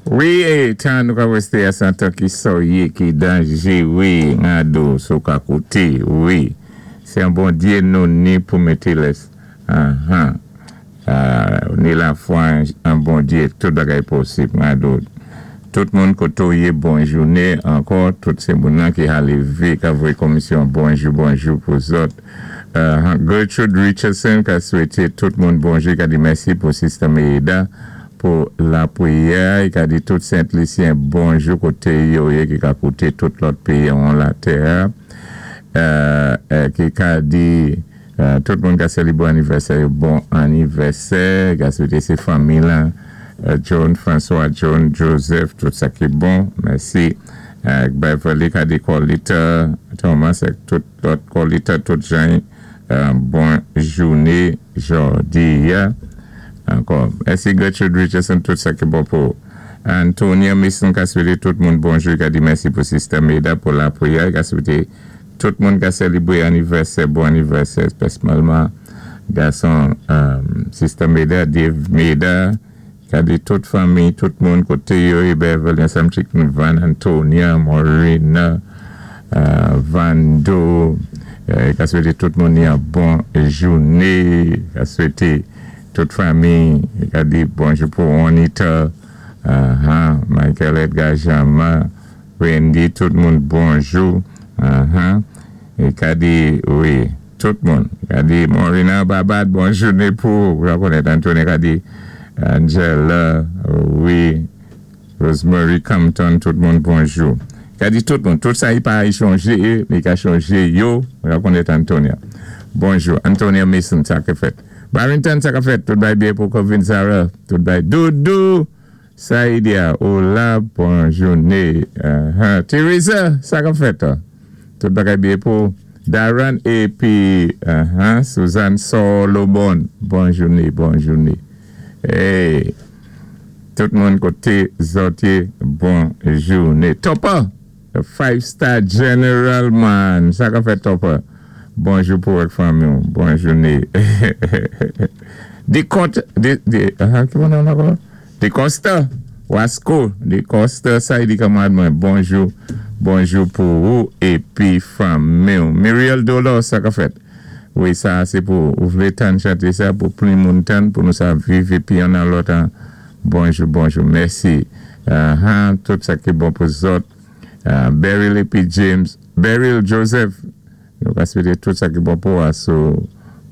Wi, tan nou ka wèsté a san tan ki soyé, ki danjé, wi, ngado, sou ka kouté, wi. Sé an Bondyé nou ni pou mété lès. Ni lafwa an Bondyé, tout bagay posib, ngado. Tout moun koto yé, bon jouné ankò, tout sé moun nan ki ka lévé, ka voyé komisyon bonjou, bonjou pou zòt. Gertrude Richardson ka swété tout moun bonjou, ka di mèsi pou Sister Meida pou lapriyè, i ka di tout Sent Lisyen bonjou koté yo yé ki ka kouté tout lòt péyi an latè. Ki ka di tout moun ka sélébwé anivèsè yo, bon anivèsè, ka swété sé fanmi lan, John, François, John, Joseph, tout sa ki bon, mèsi. Beverly ka di Colita, Thomas, ak tout lòt Colita, tout jan, bon jouné jòdi a. Ankò, mèsi Gertrude Richardson, tout sa ki bon pou Antonia Mason ka swété tout moun bonjou, ka di mèsi pou Sister Meda pou lapriyè, ka swété tout moun ka sélébwé anivèsè, bon anivèsè, pèsonèlman, gason Sister Meda, Dave Meda, ka di tout fanmi, tout moun koté yo, Beverly, ansanm Chicken Van, Antonia, Morena, Vando, ka swété tout moun yon bon jouné, ka swété tout fanmi, ka di bonjou pou Anita, Michael Edgar Jama, Wendy, tout moun bonjou, é ka di, wi, tout moun, ka di Morena Babad, bon jouné pou, ou konnèt Antoine, ka di Angela, wi, Rosemary Compton, tout moun bonjou. Ka di tout moun, tout sa i pa chonjé, i ka chonjé yo, ou konnèt Antonia. Bonjou, Antonia Mason, sa ki fèt. Barrington, sa ka fèt, tout bay byen pou Covin Sarah, tout bay Doudou, Saïdia, hola, bon jouné. Teresa, sa ka fèt. Tout bagay byen pou Darren épi Suzanne Solomon. Bon jouné, bon jouné. Hey, tout moun koté zòt yé, bon jouné. Topper, the five star general man. Sa ka fèt, Topper? Bonjou pou ak fanmi. Bon jouné. Di kont, di, ki moun nan ankò? De Costa, Wasco, de Costa, sa i di kanmarad mwen, bonjou, bonjou pou ou épi fanmi. Muriel Dolor, sa ka fèt? Wi, sa sé pou ou vlé tann chanté sa pou plis moun tann pou nou sa viv épi yon nan lòt an. Bonjou, bonjou, mèsi. Tout sa ki bon pou zòt. Beryl épi James, Beryl Joseph, nou ka swété tout sa ki bon pou asou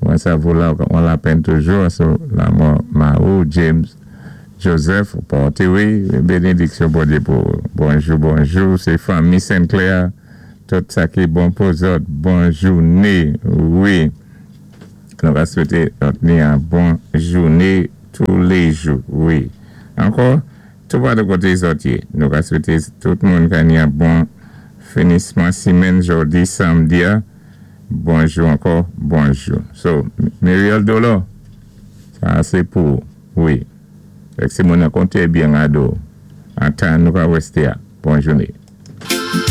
mwen sa vou la on lapenn toujou asou lanmò mari w James Joseph pòté wi bénédiksyon Bondyé pou ou. Bonjou, bonjou, sé fanmi Sinclair, tout sa ki bon pou zòt, bon jouné, wi. Nou ka swété lòt ni an bon jouné tou lé jou, wi. Ankò, tou pa de koté zòt yé, nou ka swété tout moun ka ni an bon finisman simenn jòdi samdi a. Bonjou ankò, bonjou. So, Muriel Dolor, sa sé pou ou, wi. Èk sé moun nan konté byen ado. An tan nou ka wèsté a. Bon jouné.